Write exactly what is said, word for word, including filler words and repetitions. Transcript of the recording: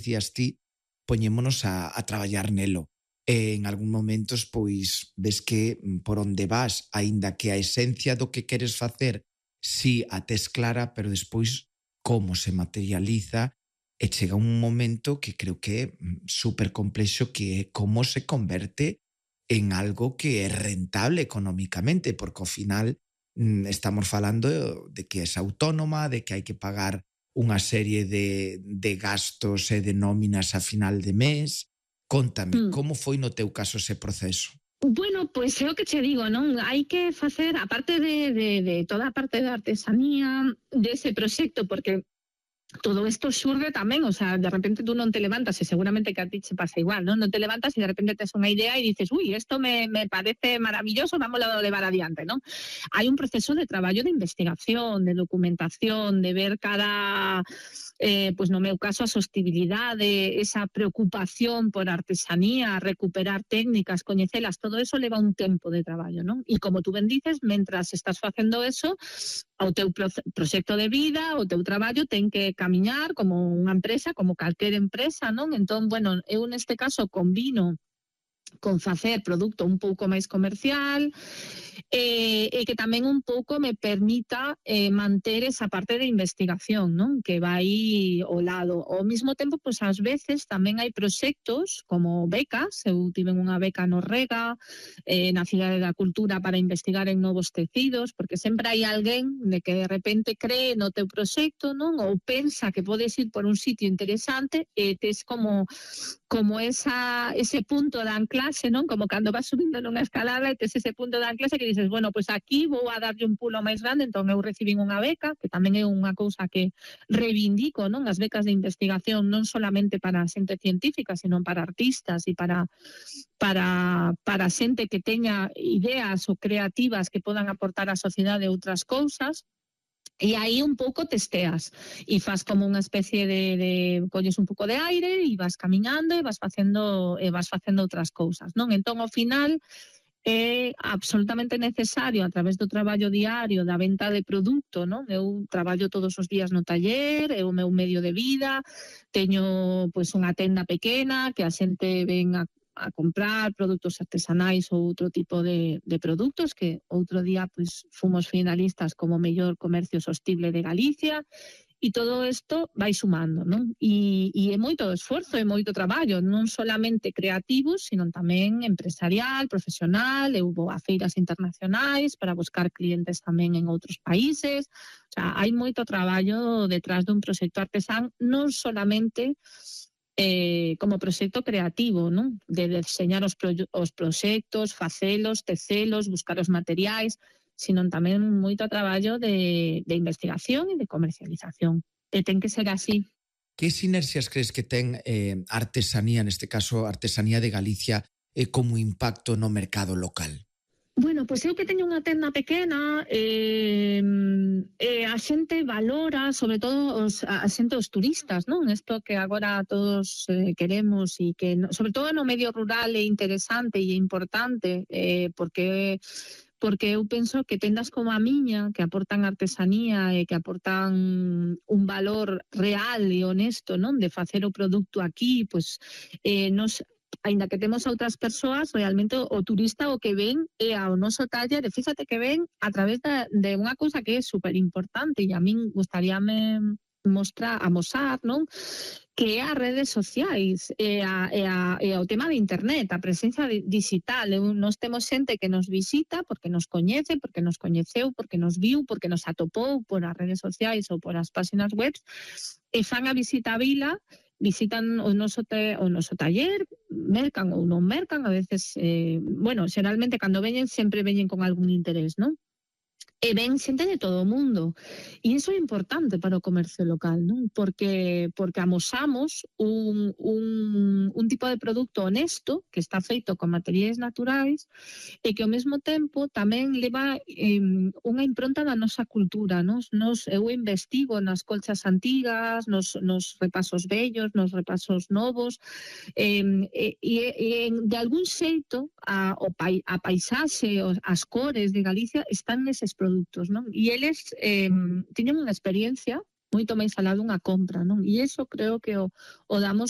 decías ti, poñémonos a, a traballar nelo. E en algún momentos, pois, ves que por onde vas, aínda que a esencia do que queres facer, si a tes clara, pero despois como se materializa, e chega un momento que creo que é super complexo, que é como se converte en algo que é rentable económicamente, porque ao final estamos falando de que es autónoma, de que hai que pagar unha serie de, de gastos e de nóminas a final de mes. Contame, Mm. como foi no teu caso ese proceso? Bueno, pois é o que che digo, non? Hai que facer, aparte de, de, de toda a parte da artesanía dese proxecto, porque todo isto xurde tamén, o sea, de repente tú non te levantas, e seguramente que a ti che pasa igual, non? Non te levantas e de repente tes unha idea e dices, ui, isto me, me parece maravilloso, vamos a levar adiante, non? Hai un proceso de traballo de investigación, de documentación, de ver cada, eh, pues no meu caso, a sostibilidade, esa preocupación por artesanía, recuperar técnicas, coñecelas, todo eso leva un tempo de traballo, non? E como tú ben dices, mentras estás facendo eso, o teu proxecto de vida, o teu traballo ten que camiñar como unha empresa, como calquer empresa, non? Entón, bueno, eu neste caso combino con facer produto un pouco máis comercial e, e que tamén un pouco me permita eh, manter esa parte de investigación, non? Que vai ao lado. Ao mesmo tempo, pois ás veces tamén hai proxectos como becas, eu tive unha beca no Rega, eh, na Cidade da Cultura para investigar en novos tecidos, porque sempre hai alguén de que de repente cree no teu proxecto, non? Ou pensa que podes ir por un sitio interesante e tes como como esa ese punto de anclaxe, non? Como cando vas subindo nunha escalada e tes ese punto de anclaxe que dices, bueno, pois pues aquí vou a darlle un pulo máis grande, entón eu recibín unha beca, que tamén é unha cousa que reivindico, non? As becas de investigación non solamente para xente científica, sino para artistas e para para para xente que teña ideas ou creativas que podan aportar á sociedade outras cousas. E aí un pouco testeas e faz como unha especie de, de colles un pouco de aire e vas camiñando e vas facendo e vas facendo outras cousas, non? Entón, ao final, é absolutamente necesario a través do traballo diario da venta de produto, non? Eu traballo todos os días no taller, é o meu medio de vida, teño pois unha tenda pequena que a xente ven a a comprar produtos artesanais ou outro tipo de, de produtos, que outro día pois fomos finalistas como mellor comercio sostible de Galicia, e todo isto vai sumando, non? E, e é moito esforzo, é moito traballo, non solamente creativo, sino tamén empresarial, profesional. Eu vou a feiras internacionais para buscar clientes tamén en outros países. O sea, hai moito traballo detrás dun proxecto artesán, non solamente Eh, como proxecto creativo, non? De deseñar os, pro, os proxectos, facelos, tecelos, buscar os materiais, sino tamén moito traballo de, de investigación e de comercialización. E ten que ser así. Que sinerxias crees que ten eh, artesanía, neste caso artesanía de Galicia, eh, como impacto no mercado local? Bueno, pois eu que teño unha tenda pequena, eh, eh, a xente valora, sobre todo os, a xente os turistas, non? Isto que agora todos eh, queremos e que, no, sobre todo no medio rural é interesante e importante, eh, porque porque eu penso que tendas como a miña, que aportan artesanía e que aportan un valor real e honesto, non? De facer o produto aquí, pois eh, nos aínda que temos a outras persoas, realmente o turista o que ven é ao noso taller, e fíxate que ven a través de, de unha cousa que é super importante e a min gustaríame mostrar, amosar, non? Que é as redes sociais e, a, e, a, e o tema de internet, a presencia digital. Nos temos xente que nos visita porque nos coñece, porque nos coñeceu, porque nos viu, porque nos atopou por as redes sociais ou por as páxinas web, e fan a visita a vila, visitan o noso, te, o noso taller, mercan ou non mercan, a veces, eh, bueno, xeralmente cando veñen sempre veñen con algún interés, non? E ven xente de todo o mundo. E iso é importante para o comercio local, non? Porque, porque amosamos un, un, un tipo de produto honesto que está feito con materiais naturais e que ao mesmo tempo tamén leva eh, unha impronta da nosa cultura. Nos, nos, eu investigo nas colchas antigas, nos, nos repasos vellos, nos repasos novos, eh, e, e, e de algún xeito a, o pai, a paisaxe, as cores de Galicia están neses produtos, non? E eles eh, tiñen unha experiencia moito máis alá dunha compra, non? E iso creo que o, o damos